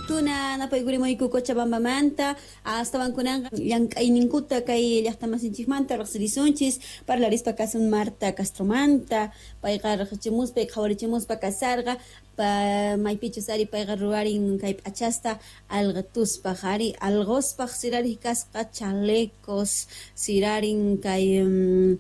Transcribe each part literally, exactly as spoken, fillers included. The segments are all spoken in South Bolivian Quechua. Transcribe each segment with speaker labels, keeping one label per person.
Speaker 1: Tuna napaykurimuyku Cochabambamanta astawan kunanqa llank'ayninkuta kay llaqtamasinchikmanta riqsirisunchis parlarispa kasun Marta Castromanta payqa riqsichimuspa qhawarichimuspa kasarqa maypichus ari payqa ruwarin kay p'achasta alqituspaq ari alqospaq sirariq kasqa chalecos sirarin kay um,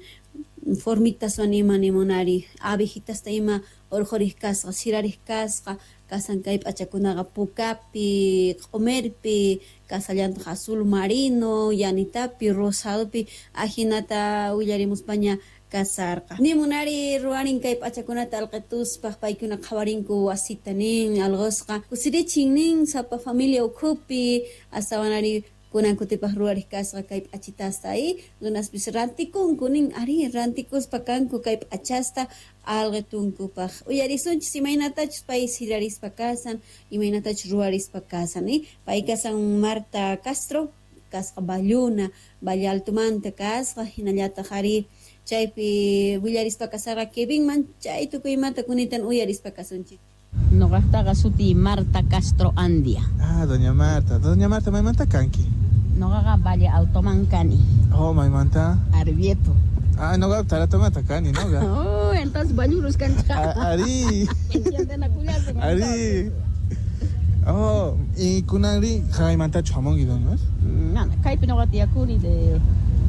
Speaker 1: formitas ima nimunari abejitasta ima urqhuriq kasqa sirariq kasqa kasan kay p'achakunaqa pukapi q'umirpi kasallantaq azul marino yanitapi rosadopi ajinata willarimuspaña kasarqa nimunari ruwarin kay p'achakunata alqituspaq paykuna qhawarinku wasita nin alqosqa kusirichin nin sapa familia ukhupi astawanari kunan kutipaq ruwariq kasqa kay p'achitasta y runaspis rantikunku nin ari rantikuspa kanku kay p'achasta alqitunkupaq uyarisunchis imaynatachus pay sirarispa kasan imaynatachus ruwarispa kasan y pay kasan Marta Castro kasqa Valluna Valle Altomanta kasqa hinallataq ari chaypi willarispa kasarqa Kevinman chay tukuymanta kunitan uyarispa kasunchik.
Speaker 2: Noqaqtaqa suti Marta Castro Andia.
Speaker 3: Ah, doña Marta. Doña Marta, maymanta kanki?
Speaker 2: Noqaqa Valle Altoman kani.
Speaker 3: Oh, maymanta?
Speaker 2: Arbieto.
Speaker 3: Ah, noqa Taratomanta kani, noqa.
Speaker 2: Oh, entonces ballurus kanchik.
Speaker 3: Ari. Ari. Oh, y kunanri jaymantachu hamunki, doña?
Speaker 2: Nana, kaypi noqa tiyakuni de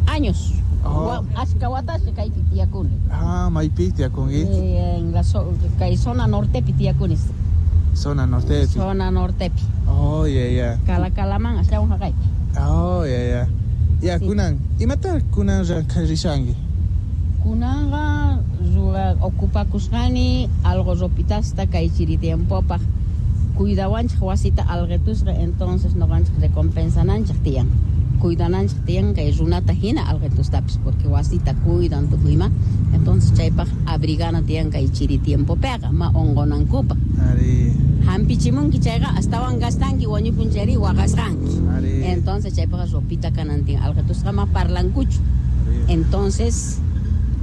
Speaker 2: años.
Speaker 3: Oh.
Speaker 2: Ashka watashi kaypi tiyakuni.
Speaker 3: Ah, maypi tiyakunki?
Speaker 2: Eh, en la so, kay zona nortepi tiyakuni.
Speaker 3: Zona nortepi.
Speaker 2: Zona nortepi.
Speaker 3: Oh, yeah, yeah.
Speaker 2: Kalakalaman astawan haqaypi.
Speaker 3: Oh, yeah, yeah. Ya,
Speaker 2: sí.
Speaker 3: Kunan, imata kunan rishanki?
Speaker 2: Kunanqa ruwa ocupakusqani algo ropitasta kay chiri tiempopaq cuidawanchik wasita alqitusqa entonces noqanchik recompensananchik tiyan. Cuidananchik tiyan kay runata hina alqitustapis porque wasita cuidan tukuyma entonces chaypaq abrigana tiyan kay chiri tiempopiqa ma unqunankupaq.
Speaker 3: Ari.
Speaker 2: Hampichimunki chayqa astawan gastanki wañupun chayri waqasqanki.
Speaker 3: Ari.
Speaker 2: Entonces chaypaq ropita kanan tiyan alqitusqa ma parlankuchu.
Speaker 3: Ari.
Speaker 2: Entonces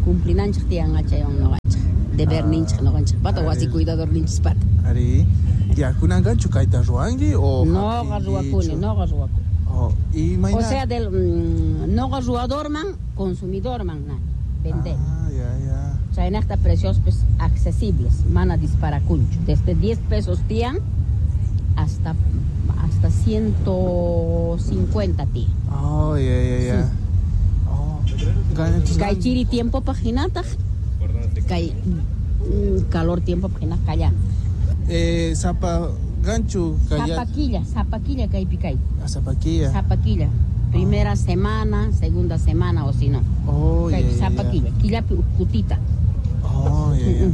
Speaker 2: cumplinanchik tiyan chaywan noqanchik deberninchik noqanchik pata wasi cuidadorninchis pata.
Speaker 3: Ari. Ya kunanqanchu kayta ruwanki o
Speaker 2: noqa ruwakuni noqa ruwakuni.
Speaker 3: Oh, y mayna...
Speaker 2: O sea, del mm, noqa ruwadorman, consumidorman nani, vender.
Speaker 3: Ah, ya, ya.
Speaker 2: Chaynaqta precios pues accesibles, mana disparakunchu. Desde diez pesos tiyan hasta hasta ciento cincuenta tiyan.
Speaker 3: Oh, ya, ya, ya.
Speaker 2: Sí.
Speaker 3: Oh.
Speaker 2: Kay chiri tiempo pajinataq, kay mm, calor tiempo pajinataq kallan.
Speaker 3: Eh, zapa ganchu kaya.
Speaker 2: Zapaquilla, zapaquilla kaypi kay.
Speaker 3: Ah, zapaquilla.
Speaker 2: Zapaquilla. Primera
Speaker 3: oh.
Speaker 2: semana, segunda semana o si no.
Speaker 3: Oh,
Speaker 2: kay,
Speaker 3: yeah, yeah,
Speaker 2: zapaquilla,
Speaker 3: yeah.
Speaker 2: Killapi ukkutita.
Speaker 3: Oh, yeah,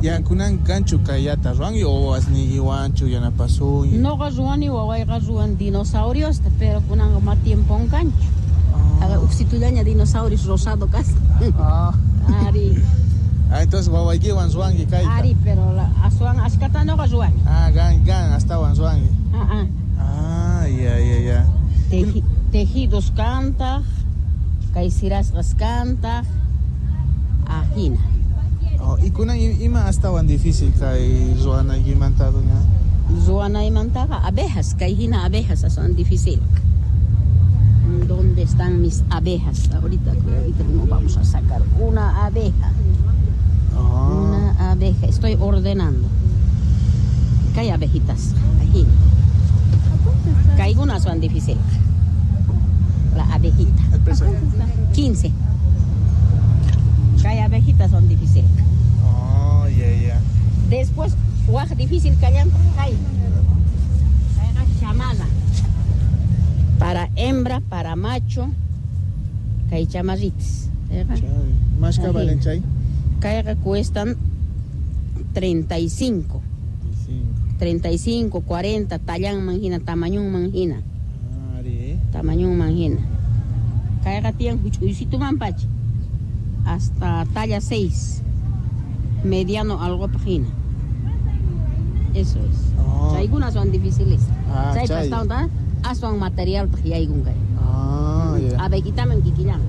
Speaker 3: yeah. Ya kunan ganchu kayata ruwanki o asniyiwanchu yanapasunki?
Speaker 2: Noqa ruwani wawayqa ruwan dinosauriosta, pero kunanqa ma tiempon kanchu.
Speaker 3: Oh.
Speaker 2: Haga uksitullaña dinosaurios rosado kasqa.
Speaker 3: Ah.
Speaker 2: Ari.
Speaker 3: Ah, entonces wawaykiwan ruwanki kayta.
Speaker 2: Ari, pero la, aswan ashkata noqa ruwani.
Speaker 3: Ah, gan, gan, astawan ruwanki.
Speaker 2: Ah, ah.
Speaker 3: Ah, ya, ya, ya.
Speaker 2: Teji, tejidos kantaq, kay sirasqas kantaq, ajina.
Speaker 3: Oh, y kunan ima astawan difícil kay ruwanaykimanta, doña?
Speaker 2: Ruwanaymantaqa abejas, kay hina abejas aswan difícil. ¿Dónde están mis abejas? Ahorita, ahorita no vamos a sacar una abeja.
Speaker 3: Oh.
Speaker 2: Una abeja, estoy ordenando. Que hay abejitas, ahí. Que algunas son difíciles. La abejita.
Speaker 3: El precio.
Speaker 2: quince. Que hay abejitas son difíciles.
Speaker 3: Oh, yeah, yeah.
Speaker 2: Después, waj difícil callan, hay. Chamada. Para hembra, para macho, que hay chamarritas.
Speaker 3: ¿Más que valen chay?
Speaker 2: Caiga cuestan treinta y cinco. treinta y cinco, cuarenta, tallan manjina, tamaño manjina. Tamaño manjina. Caiga tienen huchuycito mampachi. Hasta talla seis. Mediano algo pajina. Eso es.
Speaker 3: Oh.
Speaker 2: Algunas son difíciles.
Speaker 3: Ah,
Speaker 2: chay. Aswan material pajiyaygun kay.
Speaker 3: Ah, ya.
Speaker 2: Abejitaman kikillan.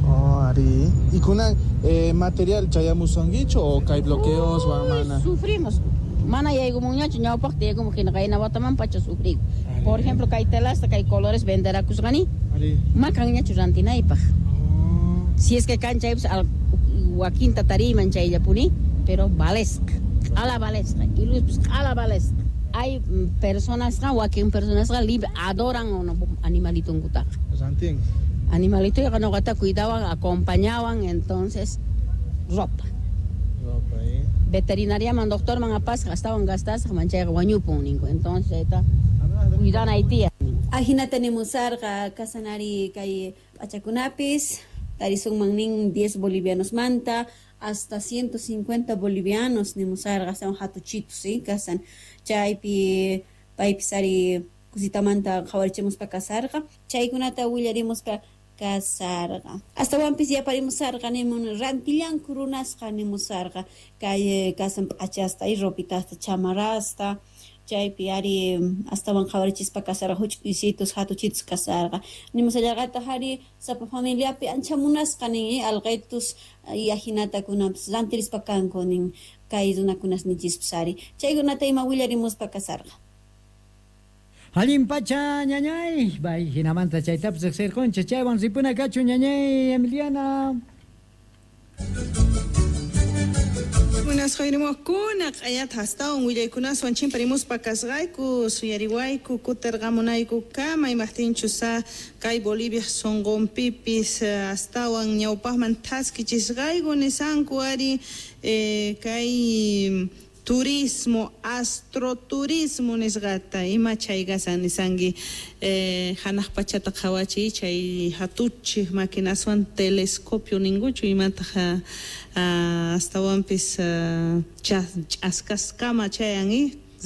Speaker 3: Oh, ari. ¿Y kunan eh, material chayamusanguicho o kay bloqueos
Speaker 2: Uy,
Speaker 3: mana?
Speaker 2: Sufrimos. Mana yaykumunñachu ñawpaqta yaykumuq hina qayna wataman pacha sufriku. Por ejemplo, kay telasta, kay colores venderakusqani, ma kanñachu rantinaypaq. Si es que kan chaypis wakinta tariyman chayllapuni, pero valesqa, q'ala valesqa, iluspis q'ala valesqa. Hay personasqa, wakin personasqa libre adoran animalitunkutaqa.
Speaker 3: Rantin.
Speaker 2: Animalitoyqa ñuqata cuidawan, acompañawan, entonces ropa.
Speaker 3: Ropa, eh.
Speaker 2: Veterinariaman, doctorman apasqa, astawan gastasqa, manchayqa wañupun ninku. Entonces chayta cuidanay tiyan.
Speaker 1: Ajinata nimusarqa kasanari kay p'achakunapis tarisunman nin diez bolivianos manta hasta ciento cincuenta bolivianos nimusarqa, son hatuchitos, ¿sí? Kasan chaypi paypis ari kusitamanta qhawarichimuspa kasarqa, chaykunata willarimuspa kasarqa. Astawanpis yaparimusarqa nimun rantillanku runasqa nimusarqa kay kasan p'achasta y ropitasta chamarrasta chaypi ari astawan qhawarichispa kasarqa huch'uysitus hatuchitus kasarqa nimusallarqataq ari sapa familiapi ancha munasqa nin alqaytus y ajinata kunapis rantirispa kanku nin kay runakunas nichispis ari chaykunata ima willarimuspa kasarqa.
Speaker 4: Allin pacha ñañay, bay hinamanta chaytapis riqsirqunchik chaywan ripuna kachu ñañay Emiliana.
Speaker 5: Buenas jayrimuqkuna q'ayata astawan willaykunaswan chimparimuspa kasqayku suyariwayku kutirqamunayku kama imaqtinchus kay Bolivia sunqunpipis astawan ñawpaqman thaskichisqayku nisanku ari eh, kay turismo, astroturismo nisqata ima chay kasan nisanki eh, hanaq pachata qhawachiy chay hatuchik maquinaswan telescopio ninkuchu imataq astawanpis ch'askaskama chayan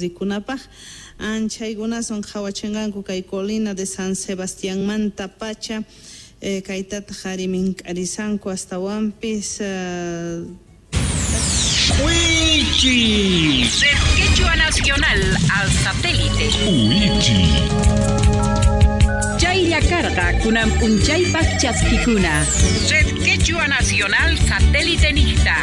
Speaker 5: rikunapaq anchaykunaswan qhawachinqanku kay colina de San Sebastianmanta pacha eh, kaytataq ari mink'arisanku astawanpis
Speaker 6: Wichi.
Speaker 7: Red Quechua Nacional al satélite.
Speaker 6: Wichi.
Speaker 7: Chaylla karqa kunan p'unchaypaq chaskikuna. Red Quechua Nacional satélite niqta.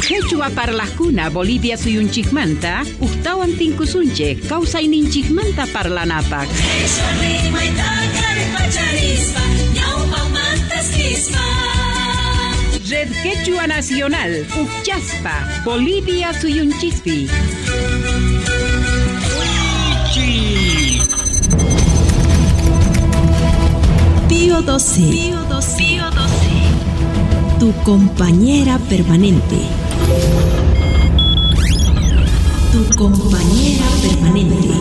Speaker 7: Quechua parlaqkuna Bolivia suyunchikmanta uqtawan tinkusunchik kawsayninchikmanta parlanapaq. Red Quechua Nacional, Uchaspa, Bolivia suyunchispi.
Speaker 8: Pío doce. Pío doce. Pío doce. Tu compañera permanente. Tu compañera permanente.